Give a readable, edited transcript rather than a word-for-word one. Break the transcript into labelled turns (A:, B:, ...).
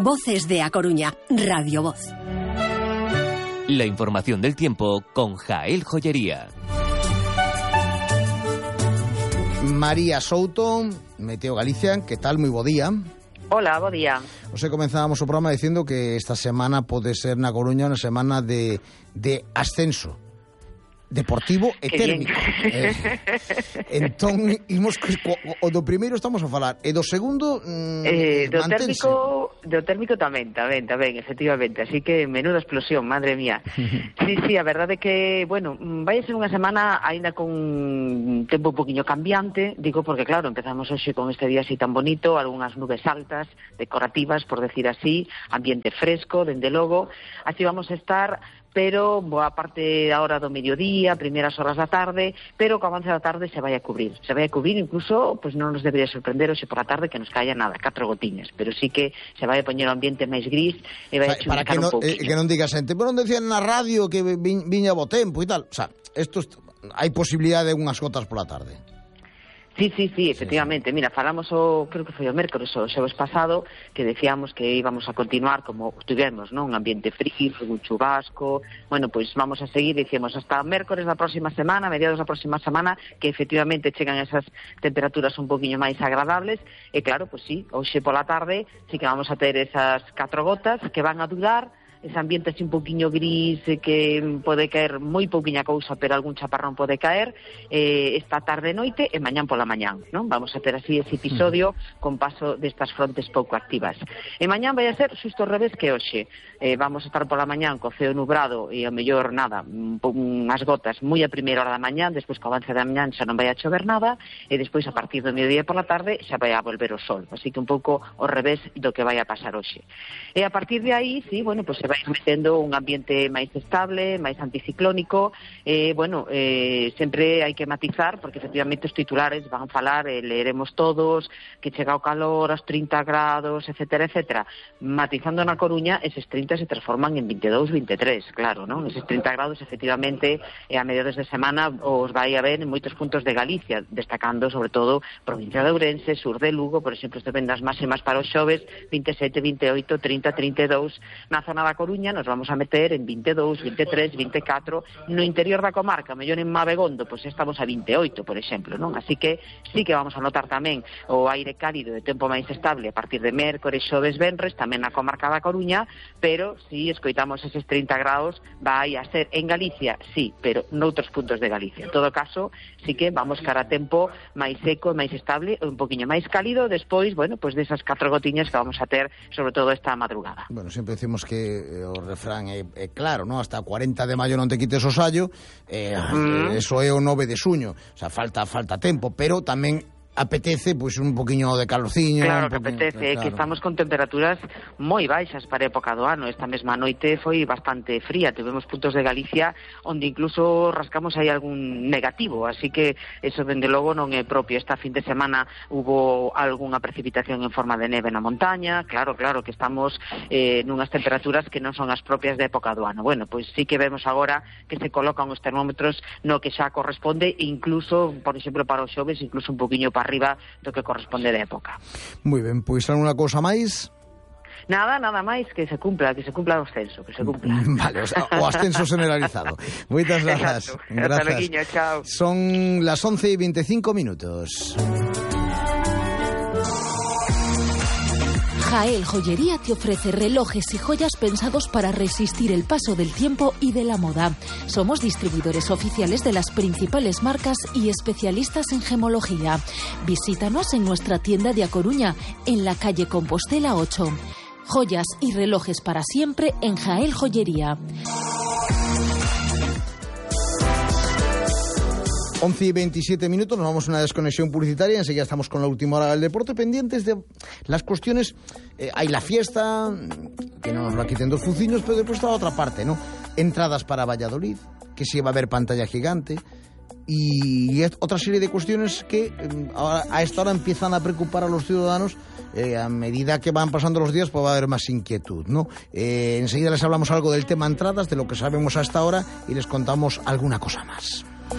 A: Voces de A Coruña, Radio Voz.
B: La información del tiempo con Jael Joyería.
C: María Souto, Meteo Galicia, que tal? Moi bo día.
D: Hola, bo día.
C: Hoxe comenzábamos o programa dicindo que esta semana pode ser na Coruña unha semana de ascenso deportivo e térmico. Entón, imos o do primeiro estamos a falar, e do segundo mantense.
D: Do térmico tamén, efectivamente. Así que menuda explosión, madre mía. Sí, a verdade é que, bueno, vai ser unha semana aínda con un tempo un poquinho cambiante, digo porque claro, empezamos hoxe con este día así tan bonito, algunhas nubes altas, decorativas, por decir así, ambiente fresco, dende logo, así vamos a estar, pero boa parte da hora do mediodía, primeiras horas da tarde, pero co avance da tarde se vai a cubrir, incluso, pues non nos debería sorprender hoxe por a tarde que nos caia nada, 4 gotiñas, pero sí que se vai a poñer o ambiente máis gris e vai a chuvicar un pouquinho.
C: Que non diga xente, pero non decían na radio que viña bo tempo e tal, o sea, hai posibilidade de unhas gotas pola tarde.
D: Sí, efectivamente. Mira, falamos creo que foi o mércores o xoves pasado, que decíamos que íbamos a continuar como tivemos, non? Un ambiente frío, un chubasco. Bueno, pois vamos a seguir, dicimos, hasta mércores da próxima semana, mediados da próxima semana, que efectivamente chegan esas temperaturas un poquinho máis agradables. E claro, pois sí, hoxe pola tarde sí que vamos a ter esas 4 gotas que van a durar, ese ambiente así un poquinho gris que pode caer moi pouquiña cousa, pero algún chaparrón pode caer esta tarde e noite e mañán pola mañán, non? Vamos a ter así ese episodio con paso destas frontes pouco activas. E mañán vai a ser xusto ao revés que hoxe. Vamos a estar pola mañán co ceo nubrado e ao mellor nada, unhas gotas moi a primeira hora da mañán, despois co avance da mañán xa non vai a chover nada e despois a partir do mediodía pola tarde xa vai a volver o sol. Así que un pouco ao revés do que vai a pasar hoxe. E a partir de aí, sí, bueno, pues se vai metendo un ambiente máis estable, máis anticiclónico, sempre hai que matizar, porque efectivamente os titulares van a falar, leeremos todos, que chega o calor, aos 30 grados, etcétera, etcétera. Matizando na Coruña, eses 30 se transforman en 22, 23, claro, non? Eses 30 grados, efectivamente, a mediados de semana os vai a ver en moitos puntos de Galicia, destacando, sobre todo, provincia de Ourense, sur de Lugo, por exemplo, este ven das máximas para os xoves, 27, 28, 30, 32, na zona da Coruña nos vamos a meter en 22, 23, 24, no interior da comarca, mellor en Mabegondo, pois estamos a 28, por exemplo, non? Así que sí que vamos a notar tamén o aire cálido de tempo máis estable a partir de mércores, xoves, venres, tamén na comarca da Coruña, pero si escoitamos eses 30 grados, vai a ser en Galicia, sí, pero noutros puntos de Galicia. En todo caso, sí que vamos cara a tempo máis seco, máis estable, un poquinho máis cálido, despois, bueno, pois desas 4 gotiñas que vamos a ter, sobre todo esta madrugada.
C: Bueno, sempre decimos que o refrán é claro, non? Hasta 40 de maio non te quites o sallo, eso é o 9 de xuño, o sea, falta tempo, pero tamén apetece pois un poquinho de calorciño.
D: Claro que apetece, claro. Que estamos con temperaturas moi baixas para a época do ano. Esta mesma noite foi bastante fría, tivemos puntos de Galicia onde incluso rascamos aí algún negativo, así que eso dende logo non é propio. Esta fin de semana hubo algunha precipitación en forma de neve na montaña, claro que estamos nunhas temperaturas que non son as propias da época do ano. Bueno, pois sí que vemos agora que se colocan os termómetros no que xa corresponde, incluso, por exemplo, para os xoves, incluso un poquinho para arriba do que corresponde da época.
C: Moi ben, pois alguna cousa máis?
D: Nada máis, que se cumpla o ascenso, que se cumpla.
C: Vale, o ascenso generalizado. Moitas grazas.
D: Hasta luego, chao.
C: Son las 11:25 minutos.
E: Jael Joyería te ofrece relojes y joyas pensados para resistir el paso del tiempo y de la moda. Somos distribuidores oficiales de las principales marcas y especialistas en gemología. Visítanos en nuestra tienda de A Coruña, en la calle Compostela 8. Joyas y relojes para siempre en Jael Joyería.
C: 11:27 minutos, nos vamos a una desconexión publicitaria, enseguida estamos con la última hora del deporte, pendientes de las cuestiones, hay la fiesta, que no nos la quiten dos fuciños, pero después está la otra parte, ¿no? Entradas para Valladolid, que sí va a haber pantalla gigante, y otra serie de cuestiones que a esta hora empiezan a preocupar a los ciudadanos. A medida que van pasando los días pues va a haber más inquietud, ¿no? Enseguida les hablamos algo del tema entradas, de lo que sabemos hasta ahora, y les contamos alguna cosa más.